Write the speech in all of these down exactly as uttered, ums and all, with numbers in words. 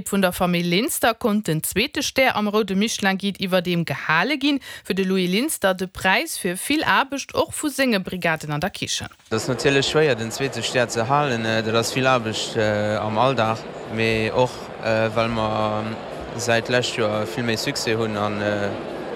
Vun der Famill Linster konnt den zweete Stär am roude Michelin-Guide iwwerdeem gehale ginn. Fir de Louis Linster de Präis fir vill Aarbecht och vu senge Brigaden an der Kichen. Dat ass natierlech schwéier den zweete Stär ze halen, dat ass vill Aarbecht am Alldag, mee och well mer säit lescht Joer vill méi Succès hunn a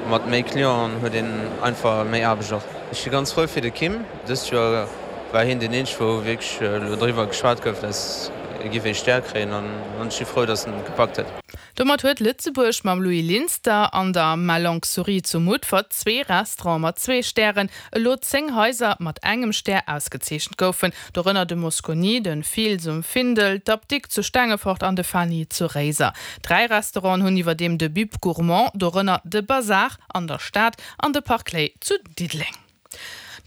mat méi Clienten huet een einfach méi Aarbecht och. Ech si ganz frou fir de Kim, dëst Joer war hien deen eenzege wou wierklech elo driwwer geschwat gouf, dass e giff ee Stär kréien an ech si frou, dass en et gepackt huet. Domat huet Lëtzebuerg mam Louis Linster an der Ma Longue Souris zu Mutfert zwee Restaurante mat zwee Stären. Elo zéng Haiser mat engem Stär ausgezeechent goufen, dorënner de Mosconi, de Fils um Findel, d'Apdikt zu Stengefort an de Fany zu Réiser. Dräi Restauranten hunn iwwerdeem de Bib Gourmand, dorënner de Bazar an der Stad an de Park Ley zu Diddeleng.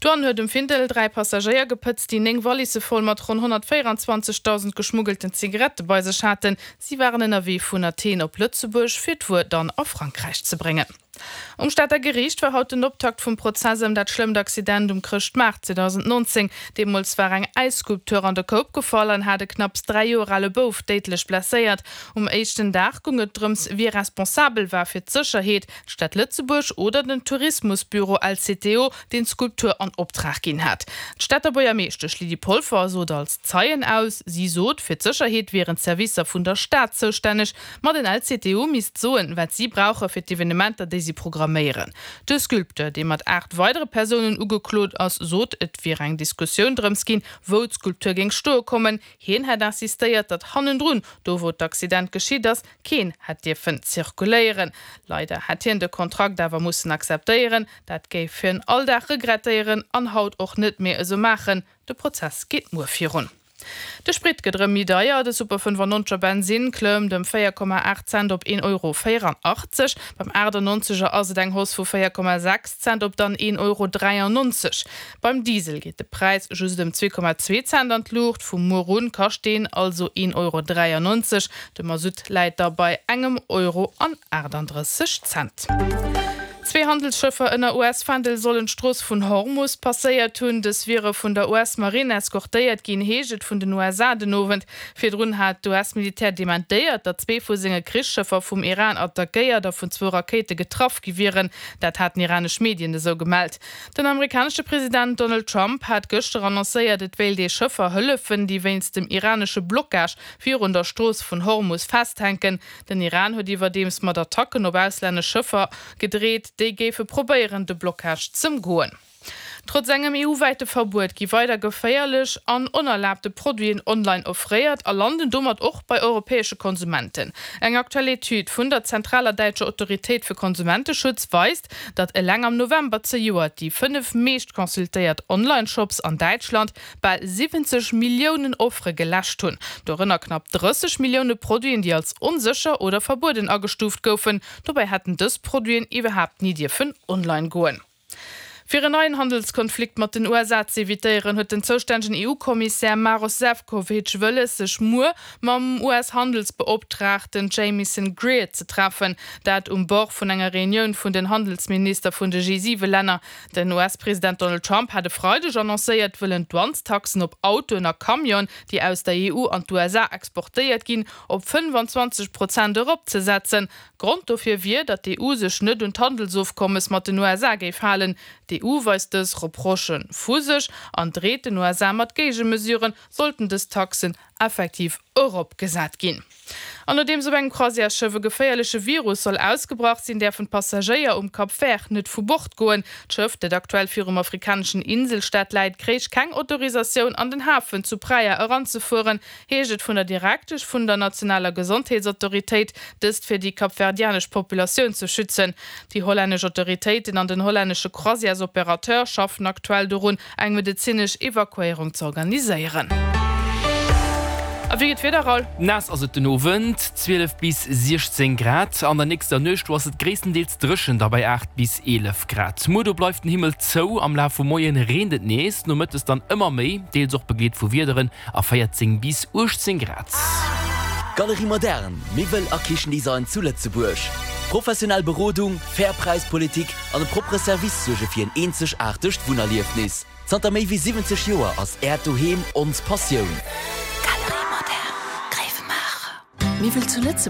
D'Douane huet um Findel dräi Passagéier gepëtzt, déi néng Wallisse voll mat ronn honnertvéierenzwanzegdausend geschmuggelten Zigarette bei sech haten. Si waren ënnerwee vun Athen op Lëtzebuerg, fir d'Wuer dann a Frankräich ze bréngen. Um Stater Geriicht war haut den Optakt vum Prozess ëm dat schlëmmt Accident um Chrëschtmaart zweedausendnonzéng. Deemools war eng Äisskulptur an de Koup gefall an hat e knapps dräi Joer ale Bouf déidlech blesséiert. Um éischten Dag goung et drëms, wie responsabel war fir d'Sécherheet, d'Stad Lëtzebuerg oder den Tourismusbüro L C T O, deen d'Skulptur an Optrag ginn hat. D'Stater Buergermeeschtesch Lydie Polfer sot als Zeien aus. Si sot, fir d'Sécherheet wieren d'Servicer vun der Stad zoustänneg, ma den L C T O misst soen, wat si brauche fir d'Evenementer, déi si programméieren. De Sculpteur, dee mat aacht weidere Persounen ugeklot ass, sot, et wier eng Diskussioun drëms ginn, wou d'Skulptur géing stoe kommen. Hien hätt insistéiert, datt hannendrun, do wou d'Accident geschitt ass, keen hätt dierfen zirkuléieren. Leider hätt hien de Kontrakt awer mussen akzeptéieren. Dat géif hien all Dag regrettéieren an haut och net méi esou maachen. De Prozess geet muer virun. De Sprit gëtt erëm méi deier, de Super fënnefannonzeger Bensinn klëmmt ëm véier Komma aacht Cent op een Euro véieranachtzeg. Beim aachtannonzeger ass et eng Hausse vu véier Komma sechs Cent op dann een Euro dräiannonzeg. Beim Diesel geet de Präis just ëm zwee Komma zwee Cent an d'Luucht, vu muer un kascht deen also een Euro dräiannonzeg. De Masutt läit da bei engem Euro an aachtandrësseg Cent. Zwee Handelsschëffer ënner U S-Fändel sollen d'Strooss vun Hormus passéiert hunn. Dës wiere vun der U S-Marinn eskortéiert ginn, heescht et vun den U S A den Owend. Virdrun hat d'U S-Militär dementéiert, datt zwee vu senge Krichsschëffer vum Iran attackéiert a vun zwou Rakéite getraff gi wieren. Dat haten iranesch Medien esou gemellt. Den amerikanesche President Donald Trump hat gëschter annoncéiert, et wéilt ee Schëffer hëllefen, déi wéinst dem iranesche Blockage virun der Strooss vun Hormus festhänken. Den Iran huet iwwerdeems mat Attacken op auslännesch Schëffer gedreet, déi géife probéieren, de Blockage z'ëmgoen. Trotz engem E U-wäite Verbuet gi weider geféierlech an onerlaabte Produiten online offréiert a landen domat och bei europäesche Konsumenten. Eng aktuell Etüd vun der zentraler däitscher Autoritéit fir Konsumenteschutz weist, datt eleng am November zejoert déi fënnef meescht consultéiert Online-Shops an Däitschland bal siwwenzeg Milliounen Offere geläscht hunn, dorënner knapp drësseg Millioune Produiten, déi als onsécher oder verbueden agestuuft goufen. Dobäi hätten dës Produiten iwwerhaapt ni dierfen online goen. Fir en neien Handelskonflikt mat den U S A z'evitéieren, huet den zoustännegen E U-Kommissär Maros Sefcovic wëlles, sech muer mam U S-Handelsbeoptraagten Jamieson Greer ze treffen. Dat um Bord vun enger Reunioun vun den Handelsminister vun de G siwe Länner. Den U S-President Donald Trump hat e Freideg annoncéiert, wëllen d'Douanestaxen op Autoen a Camionen, déi aus der E U an d'U S A exportéiert ginn, op fënnefenzwanzeg Prozent eropzesetzen. Grond dofir wier, datt d'E U sech net un d'Handelsofkommes mat den U S A géif halen. D'E U weist dës Reprochë vu sech an dreet den U S A mat Géigemesuren, sollten dës Taxen effektiv eropgesat ginn. An nodeems op engem Croisièresschëff e geféierleche Virus soll ausgebrach sinn, däerfen d'Passagéier um Cap Vert net vu Bord goen. D'Schëff, dat aktuell virum afrikaneschen Inselstaat läit, kréich keng Autorisatioun an den Hafen zu Praia eranzefueren, heescht et vun der Direktesch vun der nationaler Gesondheetsautoritéit, dëst fir déi kapverdianesch Populatioun ze schützen. Déi hollännesch Autoritéiten an den hollännesche Croisièresoperateur schaffen aktuell dorun, eng medezinesch Evakuéierung ze organiséieren. A wéi geet d'Wieder, Raoul? Naass ass et den Owend, zwielef bis siechzéng Grad. An der nächster Nuecht do ass et gréisstendeels dréchen, da bei aacht bis eelef Grad. Muer do bleift den Himmel zou, am Laf vum Moien reent et nees, nomëttes dann ëmmer méi, deels och begleet vu Wiederen a véierzéng bis uechtzéng Grad. Galerie Moderne, Miwwel a Kichendesign zu Lëtzebuerg. Professionell Berodung, fair Präispolitik an e proppere Service suerge fir en eenzegaartegt Wunnerliefnis. Zanter méi wéi siwwenzeg Joer ass Äert Doheem ons Passioun. Galerie Moderne, Gréiwemaacher. Miwwel zu Lëtzebuerg.